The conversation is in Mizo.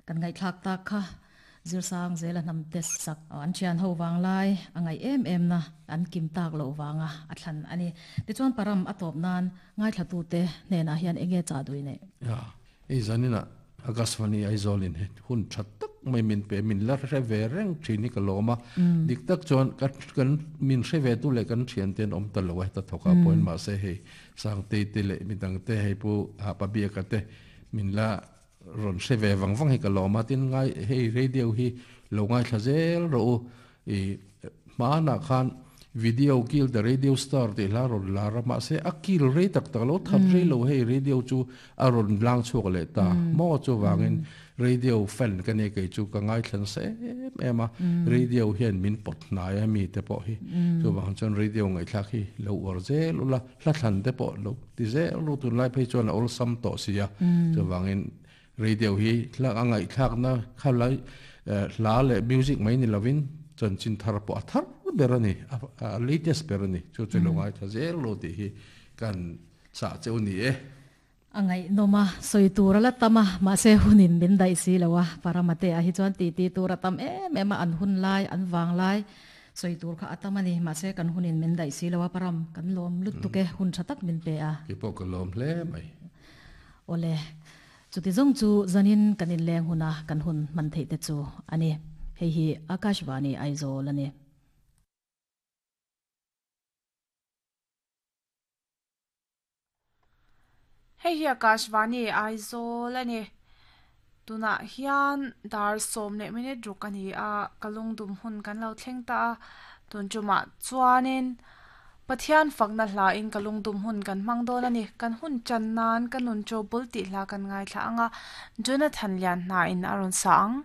Kan ngaihthlak tak kha Zirsang zela hnam te sak an thian ho vang lai a ngaih em em na an kim tak loh vanga a thlan a ni. Tichuan Param a tawp nan ngaithlatute hnenah hian enge chah duih neih? Ya, hei zaninah Akashvani Aizawlin he hun tha tak mai min pe, min la hre ve reng thin hi ka lawm a. Dik tak chuan ka kan min hre ve tu leh kan thiante an awm ta lo a heta thawkah pawhin mahse hei Sangtei te leh midangte hei Pu Pabiaka te min la Rawn hre ve vang vang hi ka lawm a, tin ngai hei radio hi lo ngaithla zel rawh u, i hmanah khan video kill the radio star tih hla rawn lar a, mahse a kill rei tak tak lo, that rei lo hei radio chu a rawn lang chhuak leh ta maw chuvangin radio fan ka nia kei chu ka ngaithla nasa em em a, radio hian min pawt hnai a mi te pawh hi, chuvang chuan radio ngaihthlak hi lo uar zel ula. Hla thlan te pawh lo ti zel ru tunlai phei chuan a awlsam tawh si a, chuvangin radio hi hla a ngaihthlakna kha lai hla leh music mai ni lovin chanchin thar pawh a thar ber a ni, a latest ber a ni, chu chu lo ngaithla zel ru tih hi kan chah cheu ni e. A ngaihnawm a, sawi tur a la tam a, mahse hunin min daih si lo a, Paramate ah hi chuan titi tur a tam em em a, an hun lai, an vang lai sawi tur kha a tam a ni, mahse kan hunin min daih si lo a, Param, kan lawm lutuk e, hun tha tak min pe a. Kei pawh ka lawm hle mai. Awle, chuti zawng chu zanin kan inleng huna kan hun hman theih te chu a ni. Hei hi Akashvani Aizawl a ni. Hei hi Akashvani Aizawl a ni. Tunah hian dar sawm leh minute ruk a ni a, ka lungdum hun kan lo thleng ta a. Tun tumah chuanin Pathian fakna hla in ka lungdum hun kan hmang dawn a ni. Kan hun tan nan ka nun chaw bul tih hla kan ngaithla ang a, Jonathan Lianhna in a rawn sa ang.